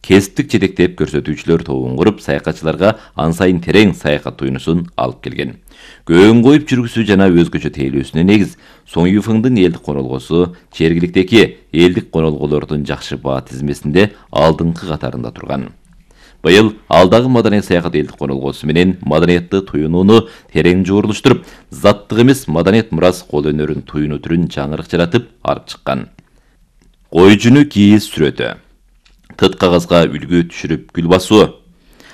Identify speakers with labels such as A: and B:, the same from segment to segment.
A: кесиптик жетектеп көрсөтүүчүлөр тобун куруп, саякатчыларга ан сайын терең саякат туюнусун алып келген. Көөн коюп жүргүсү жана өзгөчө тейлөөсүнө негиз Соңюфыңдын элдик конолгосу жергиликтеги элдик конолголордун жакшы баа тизмесинде алдыңкы катарында турган. Быйыл алдагы маданият саякат элдик конолгосу менен маданиятты туюнууну терең жуурулуштуруп, заттык эмес маданият мурас кол өнөрүн туюнуу түрүн жаңырык жаратып алып чыккан. Кой жүнү кийиз сүрөтү, тыт кагазга үлгү түшүрүп гүл басуу,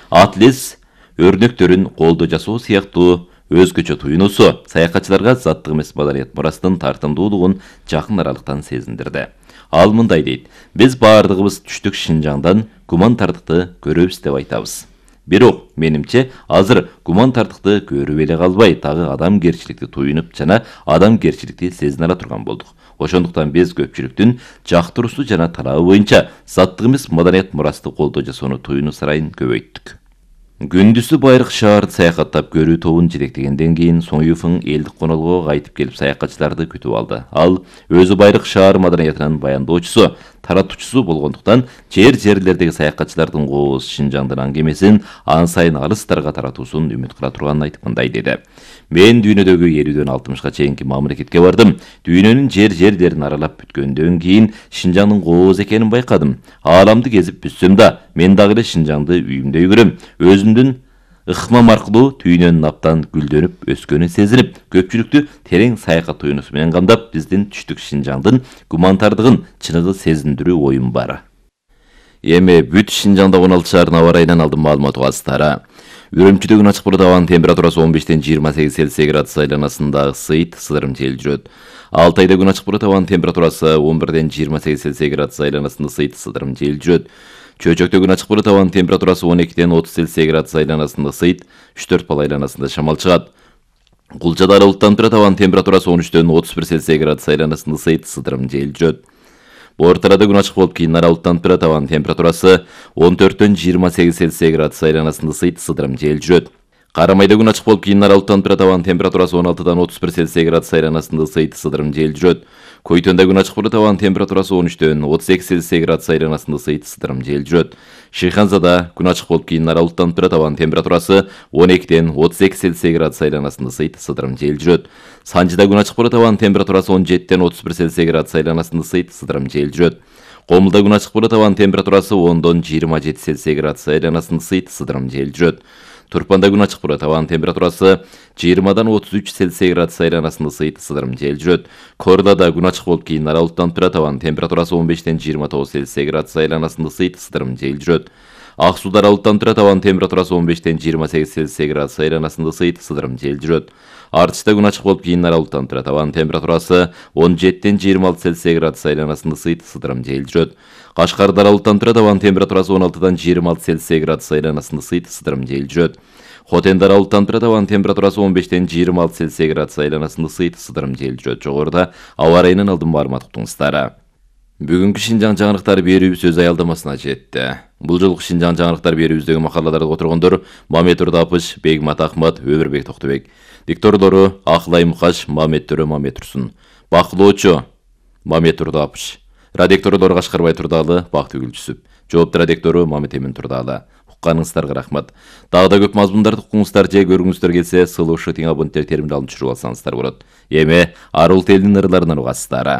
A: атлес өрнөктөрүн колдо жасоо сыяктуу өзгөчө туюнуусу саякатчыларга заттык эмес маданият мурастын тартымдуулугун жакын аралыктан сезиндирди. Ал мындай дейт: биз баардыгыбыз түштүк Шинжаңдан гумантардыкты көрөбүз деп айтабыз. Бирок менимче азыр гумантардыкты көрүп эле калбай, дагы адамгерчиликти туюнуп жана адамгерчиликти сезине ала турган болдук. Ошондуктан биз көпчүлүктүн жактыруусу жана талабы боюнча заттык эмес маданият мурасты колдоо жасоону туюнуу сарайын көбөйттүк. Күндүзү Байыркы шаарды саякаттап көрүү тобун жетектегенден кийин Соңюфың элдик конолгого кайтып келип саякатчыларды күтүп алды. Ал өзү Байыркы шаар маданиятынын баяндоочусу, таратуучусу болгондуктан жерлердеги саякатчылардын кооз Шинжаңдын аңгемесин ан сайын алыстарга таратуусун үмүт кыла турганын айтып мындай деди: мен дүйнөдөгү 50-дөн 60га чейинки мамлекетке бардым. Дүйнөнүн жерлерин аралап бүткөндөн кийин Шинжаңдын кооз экенин байкадым. Ааламды кезип бүтсөм да, мен дагы эле Шинжаңды үйүмдөй көрөм. Өзүмдүн ыкмам аркылуу түйнөнүн абдан гүлдөнүп өскөнүн сезинип, көпчүлүктү терең саякат туюнусу менен камдап, биздин түштүк Шинжаңдын гумантардыгын чыныгы сезиндирүү оюм бар. Эми бүт Шинжаңда 16 шаардын аба ырайынан алдым маалымат угасыздар. Үрөмчүдө күн ачык булут, абанын температурасы 15-тен 28 Цельсий градус айланасында ысыйт, сыдырым жел жүрөт. Алтайда күн ачык булут, абанын температурасы 11-ден 28 Цельсий градус айланасында ысыйт, сыдырым жел жүрөт. Чөчөктө күн ачык булут, абанын температурасы 12-ден 30 Цельсий градус айланасында ысыйт, 3-4 бал айланасында шамал чыгат. Кулчада аралыктан турат, абанын температурасы 13-ден 31 Цельсий градус айланасында ысыйт, сыдырым жел жүрөт. Ортарада күн ачык болуп, кийин аралыктан турат, абанын температурасы 14-ден 28 Цельсий градус айланасында ысыйт, сыдырым жел жүрөт. Карамайда күн ачык болуп, кийин аралыктан турат, абанын температурасы 16-дан 31 Цельсий градус айланасында ысыйт, сыдырым жел жүрөт. Койтонда күн ачык болуп, абанын температурасы 13-ден 32 Цельсий градус айланасында ысыйт, сыдырым жел жүрөт. Шыйханзада күн ачык болуп, кийин аралыктан турат, абанын температурасы 12-ден 32 Цельсий градус айланасында ысыйт, сыдырым жел жүрөт. Санжыда күн ачык болуп, абанын температурасы 17-ден 31 Цельсий градус айланасында ысыйт, сыдырым жел жүрөт. Комулда күн ачык болуп, абанын температурасы 10-дон 27 Цельсий градус айланасында ысыйт, сыдырым жел жүрөт. Турпанда күн ачык болуп, абанын температурасы 20-дан 33 Цельсий градус айланасында ысыйт, сыдырым жел жүрөт. Корлада күн ачык болуп, кийин аралыктан турат, абанын температурасы 15-ден 29 Цельсий градус айланасында ысыйт, сыдырым жел жүрөт. Ак сууда аралыктан турат, абанын температурасы 15-ден 28 Цельсий градус айланасында ысыйт, сыдырым жел жүрөт. Артышта күн ачык болуп, кийин аралыктан турат, абанын температурасы 17-ден 26 Цельсий градус айланасында ысыйт, сыдырым жел жүрөт. Кашкарда аралыктан турат, абанын температурасы 16-дан 26 Цельсий градус айланасында ысыйт, сыдырым жел жүрөт. Хотенде аралыктан турат, абанын температурасы 15-тен 26 Цельсий градус айланасында ысыйт, сыдырым жел жүрөт. Жогоруда аба ырайынан алдым маалымат уктуңуздар. Бүгүнкү Шинжаң жаңырыктары берүүбүз өз аялдамасына жетти. Бул жолку Шинжаң жаңырыктар берүүбүздөгү макалаларды которгондор Мамет Турдапыш, Бегмат Ахмат, Өмүрбек Токтобек. Дикторлору Акылай Мукаш, Мамет Төрө, Мамет Турсун. Бакылоочу Мамет Турдапыш. Радикторлор Кашкарбай Турдалы, Бактыгүл Жүсүп. Жоопту радиктору Мамет Эмин Турдалы. Укканыңыздарга рахмат. Дагы да көп мазмундарды укуңуздар же көргүңүздөр келсе, сылышы тең абоненттер теримди алып жүрүп алсаңыздар болот. Эми Арул телинин ырларынан угасыздар.